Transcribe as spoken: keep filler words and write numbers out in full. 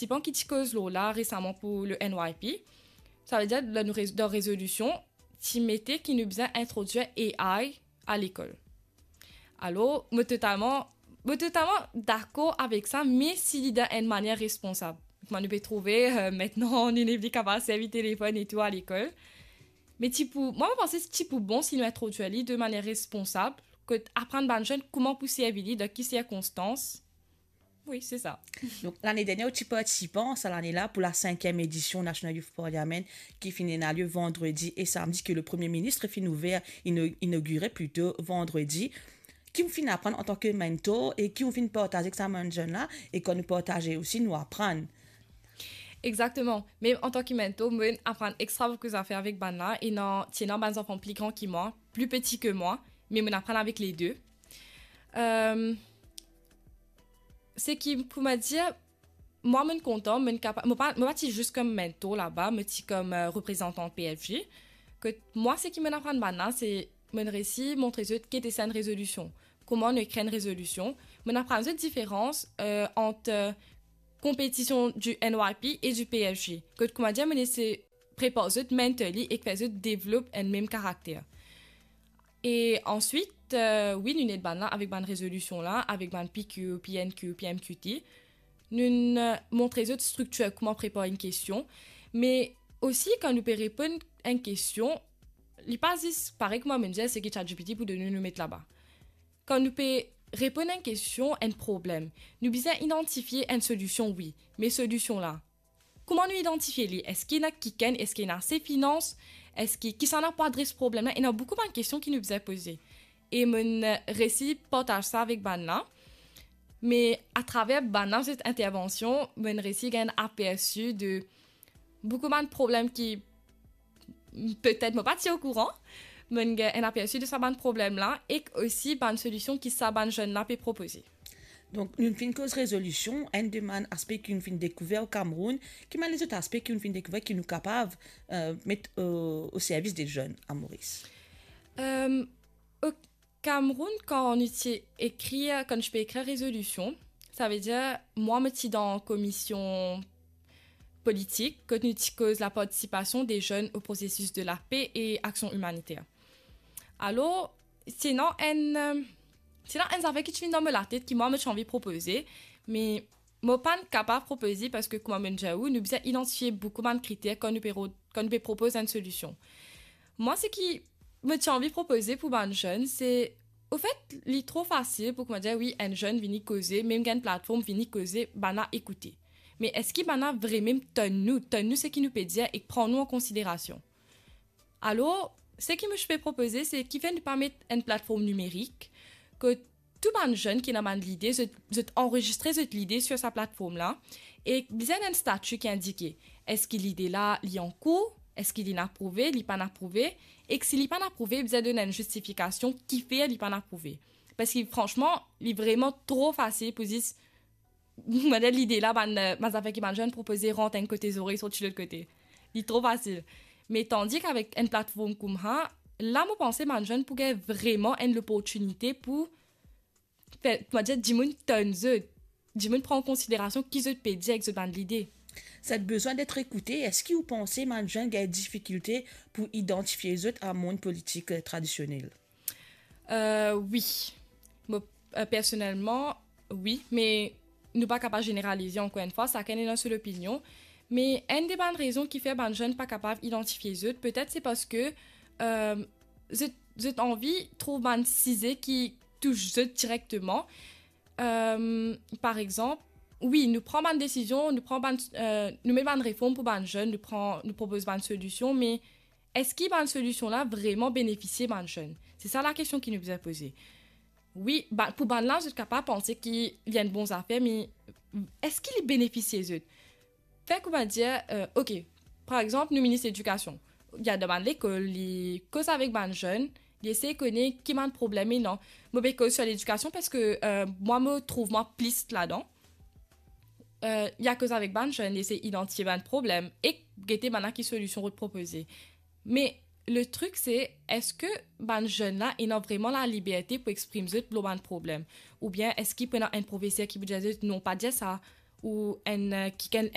partisipan ki ti koz lor la resaman pou le N Y P. Savedir, dan nou rez-, dan rezolision, ti mete ki nou bizin introdwir A I a lekol. Alor, mo totalman, mo totalman dakor avek sa, me si li dan enn manier responsab. Kouma nou pe trouve, eh, aster, nou nepli kapav servi telefonn e tou a lekol. Me ti pou, mwa, mo panse ti pou bon si nou introdwir li de manier responsab, kot aprann bann zenn kouma pou servi li, dan ki sirkonstans. Wi, se sa. Donk, lane dernie, ou ti partisipan sa lane la pou la sinkiem edision National Youth Parliament ki finn ena lie vandredi e samdi, ke le Premie Minis finn ouver, ino-, inogire plito vandredi. Ki ou finn aprann antan ke mentor e ki ou finn partaze ek sa bann zenn la, e kan nou partaze osi, nou aprann? Exakteman. Me antan ki mentor, mo'nn aprann extra boukou zafer avek bann la, e ena, ti ena bann zanfan pli gran ki mwa, pli peti ke mwa, me mo'nn aprann avek le de. Ehm, seki, kouma dir, mwa, mo'nn kontan, mo'nn kapa-, mo pa, mo pa ti zis kom mentor laba, mo ti kom, eh, reprezantan P F J. Kot mwa, seki mo'nn aprann bann la, se mo'nn resi montre zot ki ete sa enn rezolision, kouma nou ekrir enn rezolision. Mo'nn aprann zot diferans, eh, ant, eh, konpetision du N Y P e du P F J. Kot, kouma dir, mo'nn esey prepar zot mentally e fer zot develop enn mem karakter. E answit, eh, wi, nou ed bann la avek bann rezolision la, avek bann P Q, P N Q, P M Q T. Nou'nn, eh, montre zot striktir, kouma prepar enn kestion, me osi kan nou pe reponn enn kestion, li pa zis parey kouma mo'nn dir, seki ChatGPT pou donn nou, nou met laba. Kan nou pe reponn enn kestion, enn problem, nou bizin idantifie enn solision, wi, me solision la, kouma nou idantifie li? Eski ena kikenn, eski ena ase finans, eski, kisannla pou adres problem la? Ena boukou bann kestion ki nou bizin poze. E mo'nn resi partaz sa avek bann la. Me atraver bann la zot intervansion, mo'nn resi gagn enn apersi de boukou bann problem ki petet mo pa ti okouran. Mo'nn gagn enn apersi de sa bann problem la, ek osi bann solision ki sa bann zenn la pe propoze. Donk, nou finn koz rezolision, enn de bann aspe ki nou finn dekouver o Kameroun, ki bann lezot aspe ki nou finn dekouver ki nou kapav, eh, met o, o servis de zenn a Moris? Ehm, o Kameroun, kan nou ti ekrir, kan nou ti pe ekrir rezolision, savedir, mwa, mo ti dan komision politik, kot nou ti koz la partisipasion de zenn o prosesis de lape e aksion imaniter. Alor, ti ena enn, eh, ti ena enn zafer ki ti vinn dan mo latet ki mwa, mo ti anvi propoze, me mo pa'nn kapav propoze parski, kouma mo'nn dir ou, nou bizin idantifie boukou bann kriter kan nou pe ro-, kan nou pe propoz enn solision. Mwa, seki mo ti anvi propoze pou bann zenn, se, ofet, li tro fasil pou, kouma dir, wi, enn zenn vini koze, mem gagn platform, vini koze, bann la ekoute. Me eski bann la vremem tann nou, tann nou seki nou pe dir ek pran nou an konsiderasion? Alor, seki mo ti pe propoze, se kifer nou pa met enn platform nimerik, kot tou bann zenn ki ena bann lide, zot, zot anrezistre zot lide sir sa platform la, e bizin enn stati ki indike, eski lide la, li ankour, eski linn aprouve, li pa'nn aprouve, ek si li pa'nn aprouve, bizin donn enn zistifikasion kifer li pa'nn aprouve. Parski, fransman, li vreman tro fasil pou zis, mo dir, lide la, bann, eh, bann zafer ki bann zenn propoze rant enn kote zore, sorti lot kote. Li tro fasil. Me tandi ki avek enn platform koumsa, la, mo panse bann zenn pou gagn vreman enn loportinite pou fer, mo dir, dimoun tann zot, dimoun pran an konsiderasion ki zot pe dir ek zot bann lide. Cette besoin d'être écouté, eski ou panse bann zenn gagn difikilte pou idantifie zot a mond politik, eh, tradisionel? Eh, wi. Mo, eh, personelman, wi, me nou pa kapav zeneralize, ankor enn fwa, sakenn ena so lopinion. Me enn de bann rezon ki fer bann zenn pa kapav idantifie zot, petet se parski, eh, zot, zot anvi trouv bann size ki tous zot direkteman. Eh, par exanp, wi, nou pran bann desizion, nou pran bann, eh, nou met bann reform pou bann zenn, nou pran, nou propoz bann solision, me eski bann solision la vreman benefisie bann zenn? Se sa lakestion ki nou bizin poze. Wi, ba, pou bann la, zot kapav panse ki li enn bon zafer, me eski li benefisie zot? Fer kouma dir, eh, ok, par exanp, nou minis ledikasion, li al dan bann lekol, li koz avek bann zenn, li esey kone ki bann problem ena. Mo pe koz sir ledikasion parski, eh, mwa, mo trouv mwa plis ladan. Eh, li al koz avek bann zenn, li esey idantifie bann problem ek gete bann la ki solision zot propoze. Me le trik se, eski bann zenn la ena vreman laliberte pou exprim zot lor bann problem? Oubien eski pou ena enn profeser ki pou dir zot, "Non, pa dir sa," ou enn, eh, kikenn